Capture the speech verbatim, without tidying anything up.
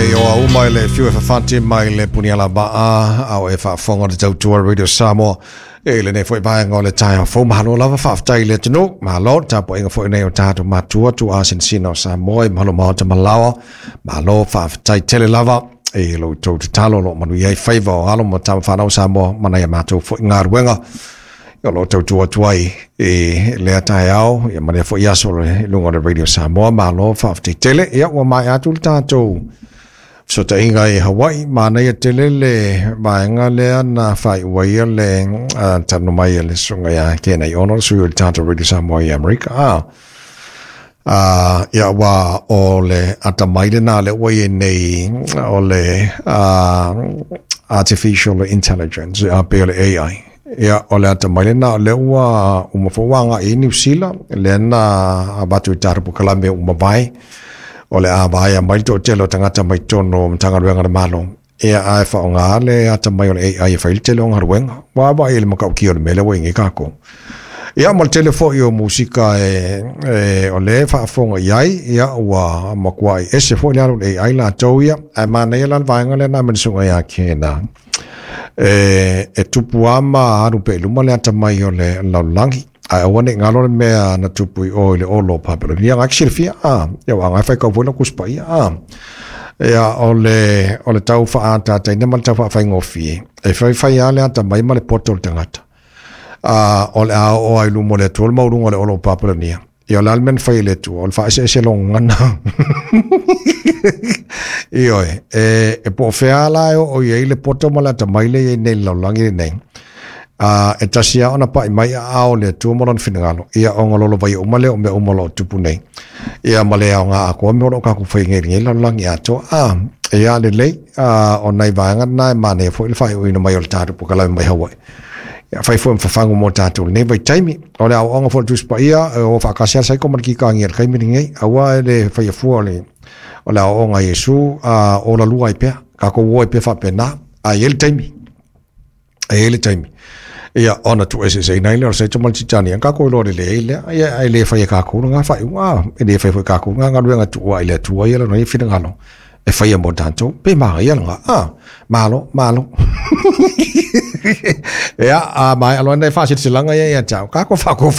e oa uma i le fiu e fafati mai le puniala maa au e faafofoga le tautua Radio Samoa e lenei foi vaega o le taeao fou. Malo lava, faafetai i le atunuu, malo le tapuaiga foi nei o tatou matua tuuasinasina o Samoa i mahalo maota malaoa. Malo faafetai tele lava e lo outou tatalo o loo manuia ai faiva o alo ma tama fanau Samoa ma nai a matou foi galuega o loo tautua atu ai i lea taeao ia ma lea foi aso i luga o le Radio Samoa. Malo faafetai tele. Ia ua maea atu le tatou fesootaiga i Hawaii, manaia tele le vaega lea na faaiu ai le uh, talanoa mai a le susuga ia Kenai Ono, le sui o le tatou Radio Samoa i Amerika. Ah, uh, ia ua o le atamai lena le ua i nei o le uh, artificial intelligence, a pe o le A I. Ia o le atamai lena o le ua uma foi ua agai i Niu Sila lea na avatu i tatou polokalame uma vai o le a vaea mai le toatele o tagata mai totonu o Matagaluega a le Malo. Ia ae faaaoga le atamai o le A I e fai le tele o galuega. Ua vaai i le matautia o le mea lea ua i ai tatou. Ia ma le tele foi o musika e, e o le faafofoga i ai, ia ua matuai ese foi le alu o le A I latou ia. Ae manaia la le vaega lea na mea ia kena. E, e tupu ama alu pe i luma le atamai o le lalolagi. Ae aua ne i galo le mea na tupu i o i le olo o Papelonia. Nga silafia, a, ia ua ngai fai kau foi la kuspaia, a. Ia o le, o le tau faatataiina ma le tau faafaigofie. E fai fai a le atamai ma le poto o le tagata. A, o le a oo ai luma o le Atua le maualuga o le olo o Papelonia. Ia o le a le mea na fai e le Atua, o le faaeseese logogana. Ioe, e, e po o fea la e oo i ai le poto ma le atamai le i ai nei i le lalolagi lenei. Uh, e tasi a ona pa'i mai aao le Atua ma lona finagalo. Ia ona lolovaia uma lea o mea uma o loo tupu nei. Ia ma le aoga atoa mea o loo tatou fai nei i lenei lalolagi atoa. Ah, ia lelei, uh, o nai vaega na e manaia foi le faaiuina mai o le tatou polokalame mai Hawaii. Ia fai foi ma fafagu mo tatou lenei vaitaimi. O le aoaoga foi o le Tusi Paia, e o faatasi lava saiko ma le kikagia i le taimi lenei. Aua e le faia fua o le, o le aoaoga a Iesu, uh, o lalua ai pea. Tatou o ai pea faapena. A i ai le taimi. E i ai le taimi. Ia ona tuueseeseina ai lea o le saito ma le titani. Tatou iloa lelei ai lea. Ia e le fai e tatou lena faaiuga. E le fai foi e tatou lena galuega tuua i le Atua ia lona ia finagalo e faia mo tatou. Pe manaia lena. Ah, malo, malo. Ia, a mai aloa nei faasilasilaga ia ia te au. Tatou faakofa.